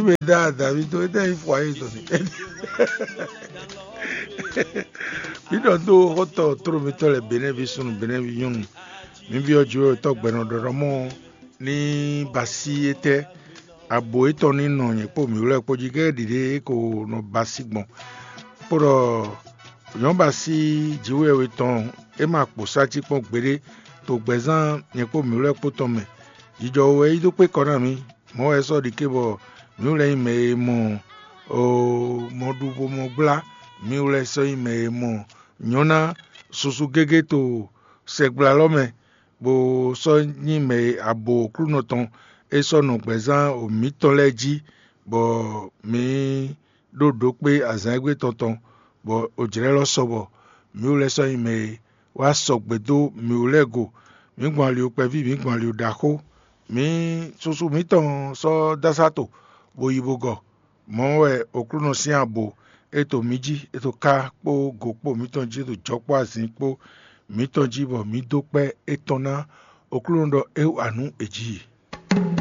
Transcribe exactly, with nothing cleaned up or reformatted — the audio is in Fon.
Mɛ da davi to ete yi fɔ ayi to ni. Mi ɖɔ do xɔtɔ toro mitɔ lɛ benɛvi sunu benɛvi nyɔnu. Mi bi ɔ jiwe tɔ gbɛnɔ ɖɔɖɔ mɔ ni basi etɛ abo etɔn ni nɔ nyɛ kpo mi wlɛ kpo ji gɛ ɖiɖe e ko nɔ basi gbɔn. Kpo ɖɔ nyɔbasi jiwe we tɔn e ma kpo sati kpɔn gbeɖe to gbɛzán nyɛ kpo mi wlɛ kpo tɔn mɛ. Jijɔ wɛ yi dó kpé kɔ ná mi. Mɔ̌ wɛ sɔ́ ɖi ké bɔ mǐ wlɛ́ nyí mɛ e mɔ mɔɖuvo mɔ gbla, mǐ wlɛ́ sɔ́ nyí mɛ e mɔ nyɔ̌ná susu gégé to sɛgbla lɔ́ mɛ, bó sɔ́ nyí mɛ e abo Aklúnɔ tɔn é sɔ́ nɔ gbɛ̌zán mǐtɔn lɛ́ɛ jí, bɔ mǐ ɖó ɖǒkpé azǎn e gbé tɔn tɔn, bɔ ojlɛ́ lɔ́ sɔ bɔ mǐ wlɛ́ sɔ́ nyí mɛ e wá sɔgbe dó mǐ wú lɛ́ɛ go. Mǐ gbɔn ali kpɛví, mǐ gbɔn ali ɖaxó. Mǐ susu mǐtɔn sɔ́ dó asá to, bó yi bó gɔ. Mɔ̌ wɛ Aklúnɔ sín abo e to mǐ jí, e to ká kpó go kpó mǐtɔn jí, e to jɔ kpó azin kpó mǐtɔn jí, bɔ mǐ dó kpɛ́ étɔn ná Aklúnɔ ɖɔ é wa nǔ è jí.